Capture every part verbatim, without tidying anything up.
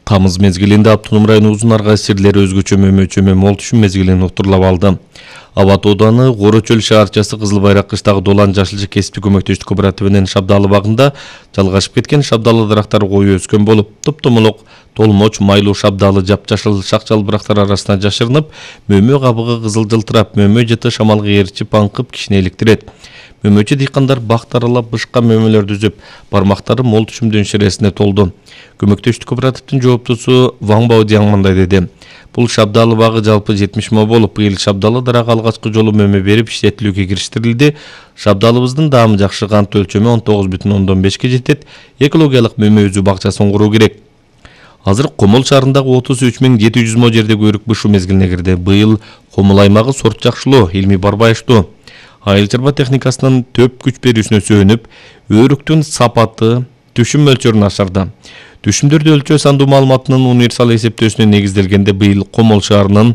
Тамыз мезгилинде Автоном району Узун Арга сирлери өзгөчө мөмө-чөмө мол түшүм мезгилин уктурлап алды. Абат ооданы Горочөл шаарчасы Кызыл Байрак кыштагы Долан Жашылчы кесиптик көмөктөштүк кооперативинин Шабдалы багында жалгашып кеткен шабдалы дарактар кою өскөн болуп, топтомолок толмоч майлуу шабдалы жапжашыл шак-жалбырактар арасына жашырынып, мөмө кабыгы кызыл жылтырап, мөмө жыты шамалга ээрчип аңкып кишини эликтирет. Мөмөчү дыйкандар бакт аралап бышка мөмөлөрдү үзүп, бармактары мол түшүмдөн ширесине толду. Көмөктөштүк кооперативдин жооптусу Ваң Баодияң мындай деди. Бул шабдалы багы жалпы жетимиш мо болуп, быйыл шабдалы дарак алгачкы жолу мөмө берип иштетилүүгө кириштерилди. Шабдалыбыздын даамы жакшы, кант өлчөмү он тогуз бүтүн ондон бешке жетет. Экологиялык мөмө үзүү бакчасын куруу керек. Азыр Комол шаарындагы отуз үч миң жети жүз мо жерде көйрүк бышуу мезгилине кирди. Быйыл Комол аймагы сорт жакшылоо, илми барбайыштуу. Айыл чарба техникасынын төп күч берүүсүнө сүйөнүп, өрүктүн сапаты түшүм мөлчөрүн ашырды. Түшүмдөрдү өлчөө сандуу маалыматынын универсал эсептөөсүнө негизделгенде быйыл Комол шаарынын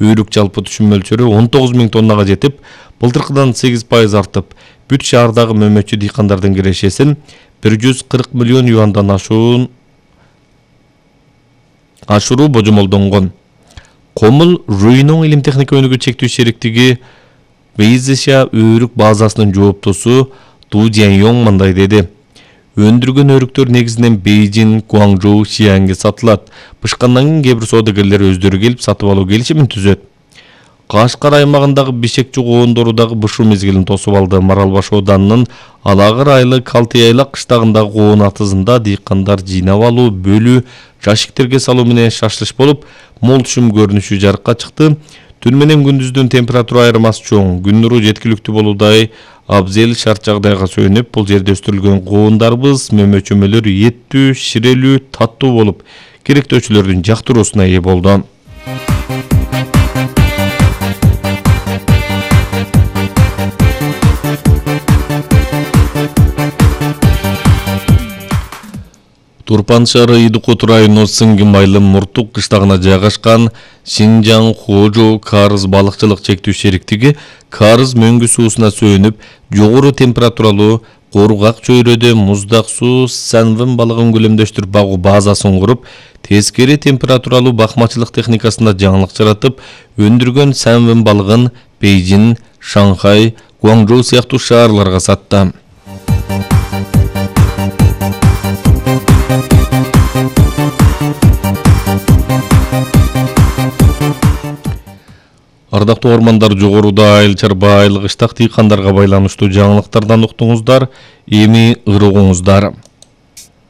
өрүк жалпы түшүм мөлчөрү он тогуз миң тоннага жетип, былтыркыдан сегиз пайыз артып, бүт шаардагы мөмөчү дыйкандардын кирешесин бир жүз кырк миллион юандан ашуун ашыруу божомолдонгон. Комол Руйнон илим техника өнүгүү чектүү шериктиги Бейзиша өрүк базасынын жооптусу Ду Жэньёң мындай деди. Өндүргөн өрүктөр негизинен Бейжин, Гуаңжоу, Шиянге сатылат. Бышкандан кийин кээ бир соодагерлер өздөрү келип сатып алуу келишимин түзөт. Кашкар аймагындагы Бишекчи коондору дагы бышуу мезгилин тосуп алды. Маралбаш ооданынын Алагыр айылы Калтыайлак кыштагындагы коон атызында дыйкандар жыйнап алуу, бөлүү, жашиктерге салуу менен шашлыш болуп, мол түшүм көрүнүшү жарыкка чыкты. Түн менен күндүздүн температура айырмасы чоң, күн нуру жеткиликтүү болуудай абзел шарт жагдайга сүйөнүп, бул жерде өстүрүлгөн коондарыбыз мөмө-чөмөлөр еттүү, ширелүү, таттуу болуп, керектөөчүлөрдүн жактыруусуна ээ болду. Турпан шаары Идукут району Сыңгим айылы Муртук кыштагына жайгашкан Шинжаң Хожо Карыз балыкчылык чектүү шериктиги Карыз мөңгү суусуна сүйөнүп, жогору температуралуу Коргак чөйрөдө муздак суу сәнвин балыгын көлөмдөштүрүп багуу базасын куруп, тескери температуралуу бакмачылык техникасында жаңылык жаратып, өндүргөн сәнвин балыгын Бейжин, Шанхай, Гуаңжоу сыяктуу шаарларга сатты. Ардактуу ормандар, жогоруда айыл чарба айыл кыштак дыйкандарга байланыштуу жаңылыктардан уктуңуздар, эми ырыгыңыздар.